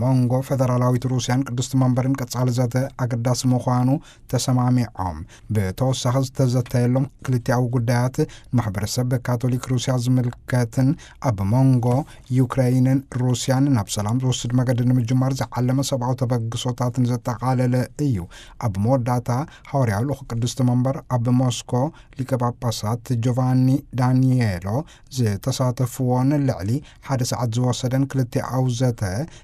መንጎ ፈደራላዊት ሩስያን ቅድስቲ መንበርን ቀጻሊ ዘተ ኣገዳሲ ምዃኑ ተሰማሚዖም። ብተወሳኺ ዝተዘተየሎም ክልቲኣዊ ጉዳያት፣ ማሕበረሰብ ካቶሊክ ሩስያ ዝምልከትን ኣብ መንጎ ዩክሬይንን ሩስያን ናብ ሰላም ዝወስድ መገዲ ንምጅማር ዝዓለመ ሰብኣዊ ተበግሶታትን ዘጠቓለለ እዩ። ኣብ መወዳእታ፣ ሃዋርያዊ ልኡኽ ቅድስቲ መንበር ኣብ ሞስኮ ሊቀ ጳጳሳት ጆቫኒ ዳኒየሎ ዝተሳተፍዎን ልዕሊ ሓደ ሰዓት ዝወሰደን ክልቲኣዊ ዘተ፣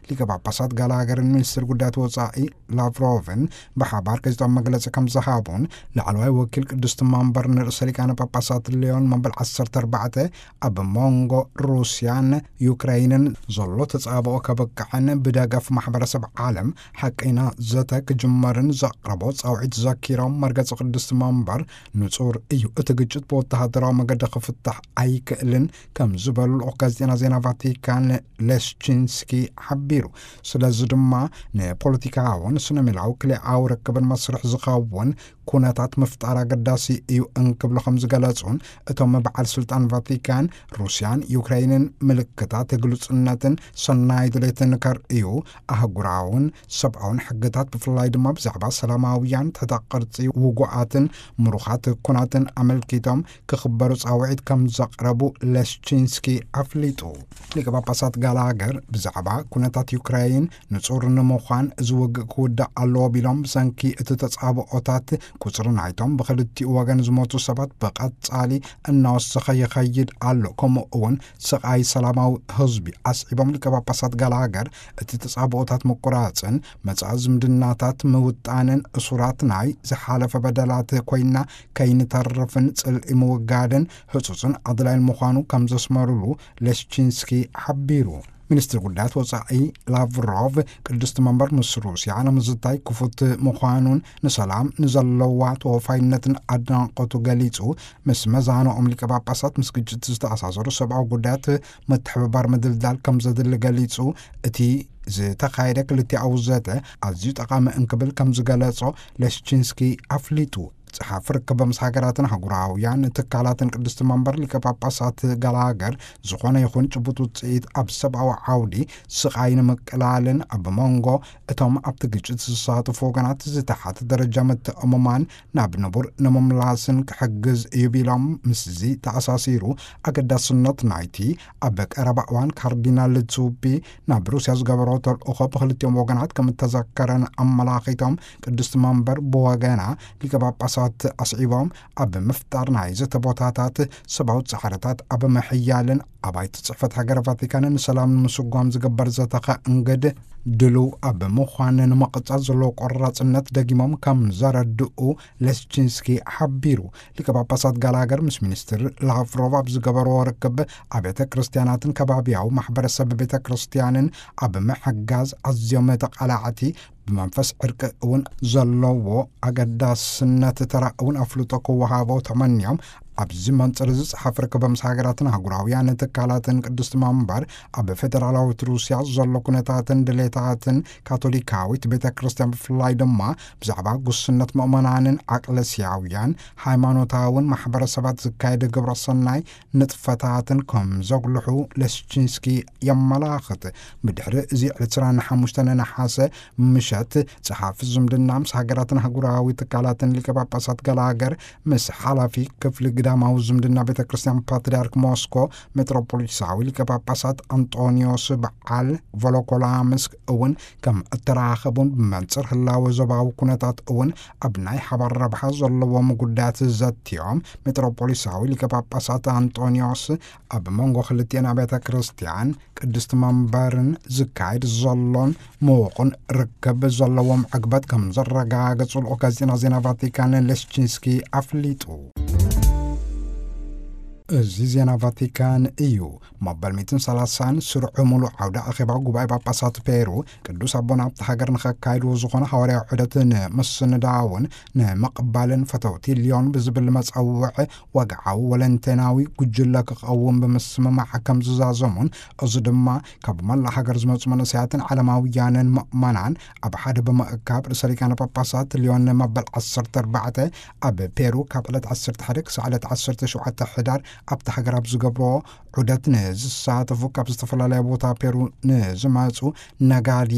ሊቀ ጳጳሳት ጋላገርን ሚኒስትር ጉዳያት ወጻኢ ላቭሮቭን ብሓባር ጋዜጣዊ መግለጺ ከም ዝሃቡን፣ ላዕለዋይ ወኪል ቅድስቲ መንበር ንርእሰ ሊቃነ ጳጳሳት ሊዮን መበል ዓሰርተ ኣርባዕተ ኣብ መንጎ ሩስያን ዩክሬይንን ዘሎ ተጻብኦ ከብቅዕን ብደገፍ ማሕበረሰብ ዓለም ሓቀይና ዘተ ክጅመርን ዘቕረቦ ጻውዒት ዘኪሮም፣ መርገጺ ቅድስቲ መንበር ንጹር እዩ፣ እቲ ግጭት ብወተሃደራዊ መገዲ ክፍታሕ ኣይክእልን ከም ዝበሉ ልኡኽ ጋዜጠና ዜና ቫቲካን ሌሽቺንስኪ ሓቢሩ። ስለዚ ድማ ንፖለቲካውን ስነ ሜላዊ ክልኣዊ ርክብን መስርሕ ዝኸውን ኩነታት ምፍጣር ኣገዳሲ እዩ እንክብሉ ከም ዝገለጹን፣ እቶም በዓል ስልጣን ቫቲካን ሩስያን ዩክሬይንን ምልክታት ግሉጽነትን ሰናይ ድሌትን ከርእዩ፣ ኣህጉራውን ሰብኣውን ሕግታት ብፍላይ ድማ ብዛዕባ ሰላማውያን ትሕተ ቅርጺ ውጉኣትን ምሩኻት ኩናትን ኣመልኪቶም ክኽበሩ ጻውዒት ከም ዘቕረቡ ሌሽቺንስኪ ኣፍሊጡ። ሊቀ ጳጳሳት ጋላገር ብዛዕባ ኩነታት ዩክሬይን ንጹር ንምዃን፣ እዚ ውግእ ክውዳእ ኣለዎ ቢሎም፣ ብሰንኪ እቲ ተጻብኦታት ቁጽሪ ናይቶም ብኽልቲኡ ወገን ዝሞቱ ሰባት ብቐጻሊ እናወሰኸ ይኸይድ ኣሎ፣ ከምኡ እውን ስቓይ ሰላማዊ ህዝቢ ኣስዒቦም፣ ሊቀ ጳጳሳት ጋላገር እቲ ተጻብኦታት ምቁራጽን መጻኢ ዝምድናታት ምውጣንን እሱራት ናይ ዝሓለፈ በደላት ኮይና ከይንተርፍን ጽልኢ ምውጋድን ህጹጽን ኣድላይን ምዃኑ ከም ዘስመሩሉ ሌሽቺንስኪ ሓቢሩ። ሚኒስትር ጉዳያት ወጻኢ ላቭሮቭ፣ ቅድስቲ መንበር ምስ ሩስያ ንምዝታይ ክፉት ምዃኑን ንሰላም ንዘለዋ ተወፋይነትን ኣድናቖቱ ገሊጹ፣ ምስ መዛንኦም ሊቀ ጳጳሳት ምስ ግጭት ዝተኣሳሰሩ ሰብኣዊ ጉዳያት ምትሕብባር ምድልዳል ከም ዘድሊ ገሊጹ፣ እቲ ዝተኻየደ ክልቲኣዊ ዘተ ኣዝዩ ጠቓሚ እንክብል ከም ዝገለጾ ሌሽቺንስኪ ኣፍሊጡ። ጸሓፊ ርክብ ምስ ሃገራትን ኣህጉራውያን ትካላትን ቅድስቲ መንበር ሊቀ ጳጳሳት ጋላገር፣ ዝኾነ ይኹን ጭቡጥ ውጽኢት ኣብ ሰብኣዊ ዓውዲ ስቓይ ንምቅላልን ኣብ መንጎ እቶም ኣብቲ ግጭት ዝሳተፉ ወገናት ዝተሓተ ደረጃ ምትእምማን ናብ ንቡር ንምምላስን ክሕግዝ እዩ ቢሎም፣ ምስዚ ተኣሳሲሩ ኣገዳስነት ናይቲ ኣብ ቀረባ እዋን ካርዲናል ዙቢ ናብ ሩስያ ዝገበሮ ተልእኾ ብክልቲኦም ወገናት ከም እተዘከረን ኣመላኺቶም፣ ቅድስቲ መንበር ብወገና ሊቀ ጳጳሳት ኣስዒቦም፣ ኣብ ምፍጣር ናይ ዘተ ቦታታት፣ ሰብኣዊ ጻዕርታት ኣብ ምሕያልን ኣባይቲ ጽሕፈት ሃገረ ቫቲካንን ንሰላም ንምስጓም ዝግበር ዘተ ከእንግድ ድሉው ኣብ ምዃን ንምቕጻል ዘለዎ ቆራጽነት ደጊሞም ከም ዘረድኡ ሌስቺንስኪ ሓቢሩ። ሊቀ ጳጳሳት ጋላገር ምስ ሚኒስትር ላቭሮቭ ኣብ ዝገበርዎ ርክብ፣ ኣብያተ ክርስቲያናትን ከባቢያዊ ማሕበረሰብ ቤተ ክርስቲያንን ኣብ ምሕጋዝ ኣዝዮም ተቓላዕቲ፣ ብመንፈስ ዕርቂ እውን ዘለዎ ኣገዳስነት ተራ እውን ኣፍልጦ ክወሃቦ ተመንዮም፣ ኣብዚ መንጽር እዚ ጸሓፊ ርክብ ምስ ሃገራትን ኣህጉራውያን ትካላትን ቅድስቲ መንበር ኣብ ፌደራላዊት ሩስያ ዘሎ ኩነታትን ድሌታትን ካቶሊካዊት ቤተ ክርስቲያን ብፍላይ ድማ ብዛዕባ ጉስነት ምእመናንን ዓቅለስያውያን ሃይማኖታውን ማሕበረሰባት ዝካየድ ግብረ ሰናይ ንጥፈታትን ከም ዘጉልሑ ሌስቺንስኪ የመላኽት። ብድሕሪ እዚ ዕለት ዕስራን ሓሙሽተን ነሓሰ ምሸት ጸሓፊ ዝምድና ምስ ሃገራትን ኣህጉራዊ ትካላትን ሊቀ ጳጳሳት ጋላገር ምስ ሓላፊ ክፍሊ ግዳማዊ ዝምድና ቤተ ክርስቲያን ፓትርያርክ ሞስኮ ሜትሮፖሊታዊ ሊቀ ጳጳሳት ኣንጦኒዮስ በዓል ቮሎኮላምስክ እውን ከም እተራኸቡን ብመንጽር ህላወ ዞባዊ ኩነታት እውን ኣብ ናይ ሓባር ረብሓ ዘለዎም ጉዳያት ዘትዮም ሜትሮፖሊታዊ ሊቀ ጳጳሳት ኣንጦኒዮስ ኣብ መንጎ ክልቲኤን ኣብያተ ክርስቲያን ቅድስቲ መንበርን ዝካየድ ዘሎን ምዉቕን ርክብ ዘለዎም ዕግበት ከም ዘረጋገጹ ልኡኽ ጋዜጣ ዜና ቫቲካን ሌስቺንስኪ ኣፍሊጡ። እዚ ዜና ቫቲካን እዩ። መበል ሚእትን ሰላሳን ስሩዕ ምሉእ ዓውደ ኣኼባ ጉባኤ ጳጳሳት ፔሩ ቅዱስ ኣቦና ኣብቲ ሃገር ንኸካይድዎ ዝኾነ ሃዋርያዊ ዑደት ንምስንዳውን ንምቕባልን ፈተውቲ ሊዮን ብዝብል መጸውዕ ወግዓዊ ወለንተናዊ ጉጅለ ክቐውም ብምስምማዕ ከም ዝዛዘሙን፣ እዚ ድማ ካብ መላእ ሃገር ዝመጹ መንእሰያትን ዓለማውያንን ምእመናን ኣብ ሓደ ብምእካብ ርእሰ ሊቃነ ጳጳሳት ሊዮን መበል ዓሰርተ ኣርባዕተ ኣብ ፔሩ ካብ ዕለት ዓሰርተ ሓደ ክሳዕ ዕለት ዓሰርተ ሸውዓተ ሕዳር ኣብቲ ሃገር ኣብ ዝገብሮ ዑደት ንዝሳተፉ ካብ ዝተፈላለያ ቦታ ፔሩ ንዝመጹ ነጋድያ